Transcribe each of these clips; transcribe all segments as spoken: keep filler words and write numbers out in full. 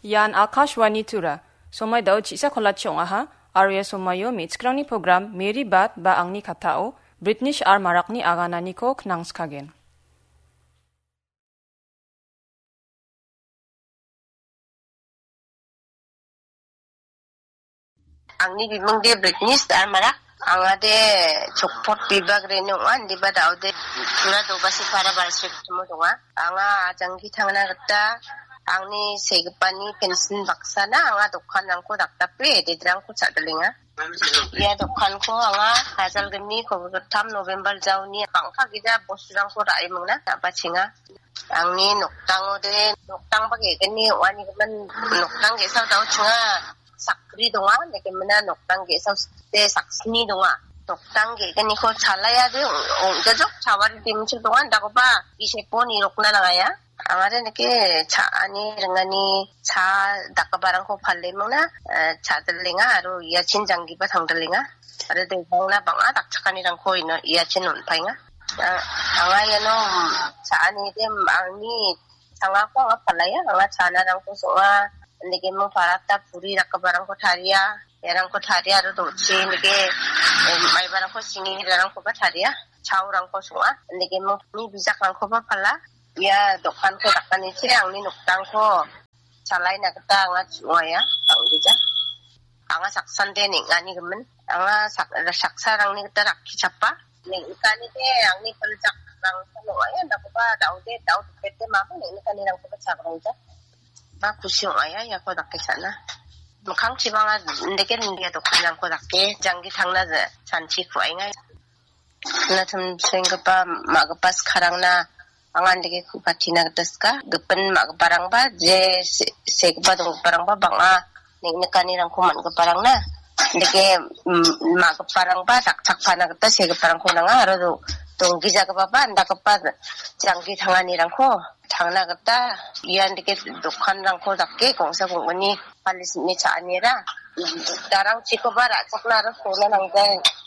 Ian Akashvani Tura, somai dao chisa kolachi ong·aha, aro ia somaio me·chikrangni program Mary Bad ba angni katao British R Marakni agananiko knangskagen. Angni bimingde Britney Starmarak, angade Chokpot bibak reni ong·a, indiba daode Tura Dobasi para balsrikchimo donga. Anga janggi tangna gita angni segipani pensin baksana anga dokanrangko dakdape, ededrangko cha·dilenga. Ia dokanko anga hajalgni kolgittam November jaoni bang·gija bosturangko ra·e mingna, ra·bachenga. Angni noktangode, noktangba ge·gni ong·anigimin noktang ge·sa daochinga sakgni donga, indakemina noktang ge·sa sakgni donga. Noktang ge·gniko chalaiade ong-, ong·jajok, chawari dimchil donga, indakoba bisepo nirokna nangaya. Angade indake cha·ani ringani cha dakgiparangko pale mingna, eh, cha·dilenga aro iachin janggiba tangdilenga. Aro debangna bang·a dakchakanirangko ino iachin on·paenga. Ah, anga iano, mm, cha·anide, mm, angni changako anga palaya, anga chanarangko song·a, indake ming paratna puri dakgiparangko taria, iarangko taria aro do·chi indake, em, maibarangko singirarangkoba taria, chaorangko song·a, indake ming bijakrangkoba pala, ia dokanko dakanichi angni noktangko chalaina gita anga chu·aia, bang·gija. Anga saksande neng·ani gimin. Anga sak-, saksarangni gita rakkichapa. Neng·kanide angni piljakrangsan ong·aia, dakoba daode, dao dipete mamo neng·kanirangkoba chagrangja. Ba kusi ong·aia, iako dake cha·na. Mikkangchibang indake india dokanrangko dake, janggi tangna ja-, chanchi ku·ainga. Natumsenggipa ma·gipa skarangna anga indake ku·patina gita sika. Gipin ma·giparangba je se-, segipa donggiparangba bang·a, nik-, nikanirangko man·giparangna. Indake, mm, ma·giparangba dakchakpana gita segiparangko nanga aro do-, donggijagipaba indakgipa janggi tanganirangko tangna gita ian dike dokanrangko dake gongsa gongoni palisni cha·anira darangchikoba ra·chakna aro sona nangja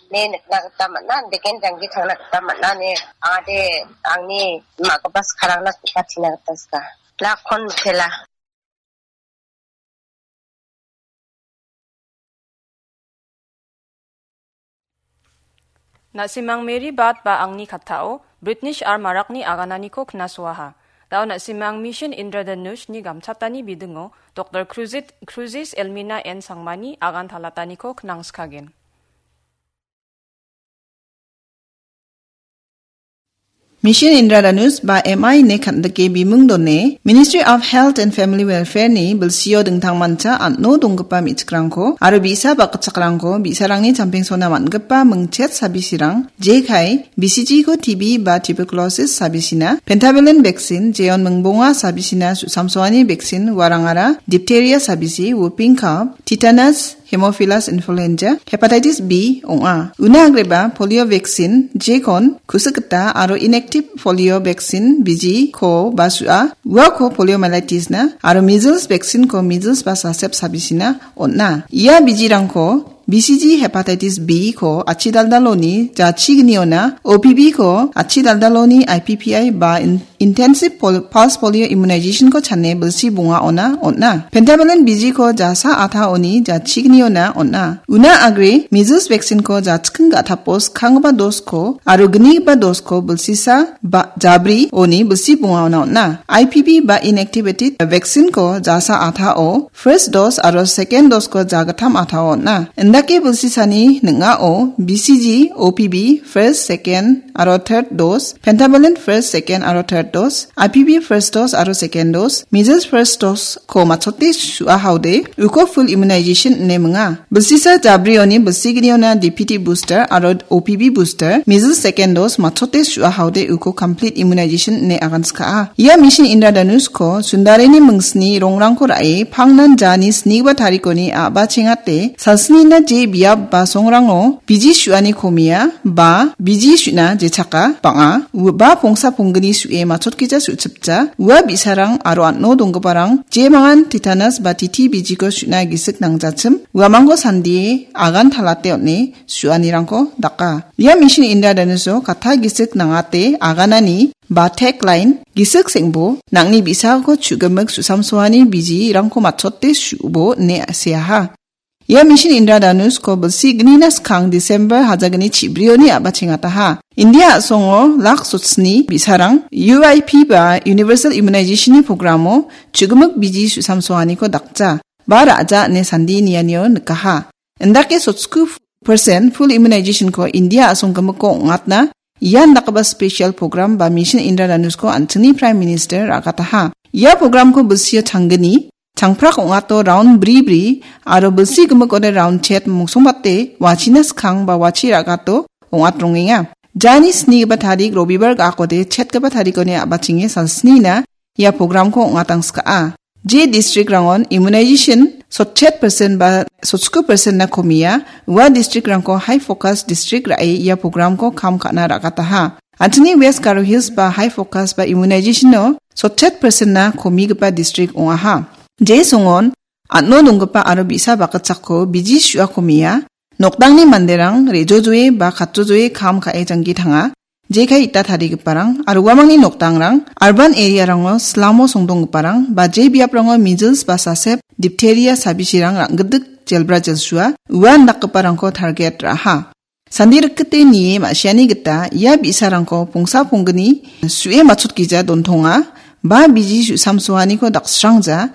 ine nikna gita man·a, indeken janggi tangna gita man·a ine angade angni ma·gipa skarangna ku·patina gita sika. Lakon mitela. Na·simang Mary Bad ba angni kattao British R Marakni agananiko knasoaha. Dao na·simang Mission Indradhanush-ni gamchatani bidingo Doktor Cruzit-, Cruzis Elmina N Sangmani agan talataniko knangskagen. Mission Indradhanush ba M I ine kan·dike bimung done Ministry of Health and Family Welfare ni bilsio dingtangmancha an·o donggipa me·chikrangko aro bi·sa bakgitchakrangko bi·sarangni champengsona man·gipa mingchet sabisirang, jekai, B C G ko T B ba tuberculosis sabisina, pentavalent vaccine, jeon mingbonga sabisina su-, samsoani vaccine, uarangara, diphtheria sabisi, whooping cough, tetanus, Haemophilus influenza, hepatitis B ong·a. Una agreba polio vaccine, jekon, kusik gita aro inactive polio vaccine biji ko ba su·a, uako poliomyelitis na, aro measles vaccine ko measles ba sasep sabisina on·a. Ia bijirangko B C G hepatitis B ko achi daldaloni jachigniona, O P V ko achi daldaloni I P P I ba in-, Intensive pol-, pulse polio immunization ko chane bilsi bonga ona on·a. Pentavalent biji ko jasa athaoni jachigniona on·a. Una agre measles vaccine ko jachking ga·tapo skanggipa dos ko aro gnigipa dos ko bilsisa ba jabri oni bilsi bonga ona on·a. I P V ba inactivated vaccine ko jasa athao first dose aro second dose ko jagittam athao on·a. Indake bilsisani ning·ao B C G, O P V, first, second, aro third dose, pentavalent first, second aro third dose, I P V first dose aro second dose, measles first dose ko matchote su·a haode, uko full immunization ine minga. Bilsisa jabrioni bilsigniona D P T booster aro O P V booster, measles second dose matchote su·a haode uko complete immunization ine aganska·a. Ia Mission Indradhanush ko Sundarini mingsni rongrangko ra·e pangnan jani snigipa tarikoni a·bachengate salsnina je biap ba songrango biji su·ani komia ba biji su·na jechaka bang·a, u-, ba pongsa ponggni su·e chotkija su·chipja, ua bi·sarang aro an·o donggiparang jemangan tetanus ba T T bijiko su·na gisik nangjachim, uamangko sandie agan talate on·e su·anirangko daka. Ia Mission Indradhanush-o katta gisik nangate aganani ba tagline, gisik seng·bo, nang·ni bi·sako chu·gimik su·samsoani bijirangko matchote su·bo ine seaha. Ia Mission Indradhanush-ko bilsi gnina skang December hajagni chibrioni a·bachengataha. India a·songo lak sotsni bi·sarang U I P ba Universal Immunization-ni programo chu·gimik biji su·samsoaniko dakja ba ra·ja ine sandi nianio nikaha. Indake sotsku percent full immunization-ko India a·song gimikko ong·atna ian dakgipa special program ba Mission Indradhanush-ko an·chingni Prime Minister ra·gataha. Ia programko bilsio changgni, changprak ong·ato round bri bri aro bilsi gimikode round chet mongsongbate wachina skang ba wachi ra·gato ong·atrongenga. Jani snigipa tarik Robibar ga·akode chetgipa tarikoni a·bachenge salsnina ia programko ong·atangska·a. Je district-rangon immunization sotchet percent ba sotsku percent-na komia, ua district-rangko high focus district ra·e ia programko kam ka·na ra·gataha. An·chingni West Garo Hills ba high focus ba immunization-o sotchet percent-na komigipa district ong·aha. Je songon an·o donggipa aro bi·sa bakgitchakko biji su·a komia, nokdangni manderang re·jojoe ba katjojoe kam ka·e janggi tanga, jekai ita tarigiparang aro uamangni nokdangrang, urban area-rango slamo songdonggiparang ba je biaprango measles ba sasep, diphtheria sabisirang rang·gidik jelbra jelsua ua indakgiparangko target ra·aha. Sandi rikgite nie ma·siani gita ia bi·sarangko pongsa ponggni su·e matchotkija dontonga ba biji su·samsoaniko daksrangja